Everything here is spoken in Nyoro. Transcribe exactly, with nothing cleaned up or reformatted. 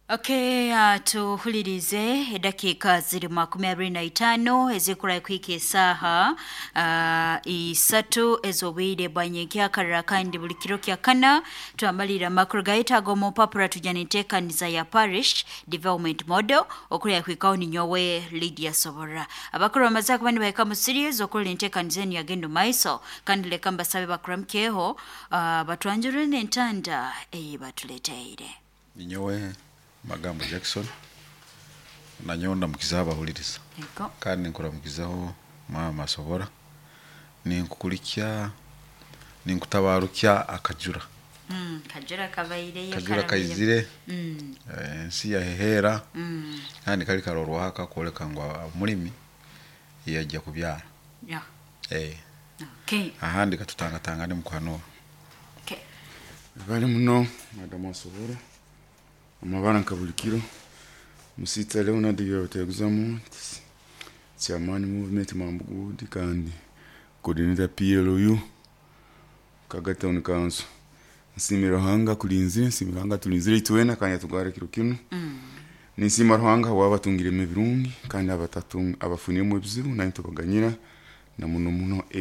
Okay, uh, tuhulirize edakiika ziri makumi abiri na itaano ezikura kuhika esaaha uh, isatu ez'obwire bwa nyenkyakara. Kandi buli kiro kya kana twamalira amakuru gaitu ag'omu mpapura, tujya n'enteekaniza ya Parish Development Model okurya kuhikaho. Ninyowe Lydia Sobora. Abakuru bamaze kuba nibahika mu series okurora enteekaniza enu yagenda omu maiso, kandi leka mbasabe bakuramukyeho, uh, batwanjurire n'entanda ei batuleteire. Ninyowe Magambo Jackson, nanyowe ndamukizaho abahuliriza. Yego. Kandi nkuramukizaho maama Asobora, ninkukulikya, ninkutabarukya akajura. Mm, kajura kabaireyo. Kajura karabire. Kaizire. Mm, eh, ensi yaheheera. mm, kandi kali karorwaho akakwoleka ngu omulimi yajja kubyara. yeah. eh, Okay. Ahandi katutangatangane mukuhanura. Okay. Bali muno madamu Asobora, amabara nka buli kiro, musita Leonard byabateguzamu, chairman movement Mambugudi kandi coordinator P L U Kaga Town Council. Nsimira Ruhanga kulinzire, nsimira Ruhanga tulinzire itwena kandi atugwara kiro kinu. Ninsima Ruhanga wabatungiremu ebirungi kandi abatatung abafuniremu ebizibu nanyi tubaganyira na muno muno.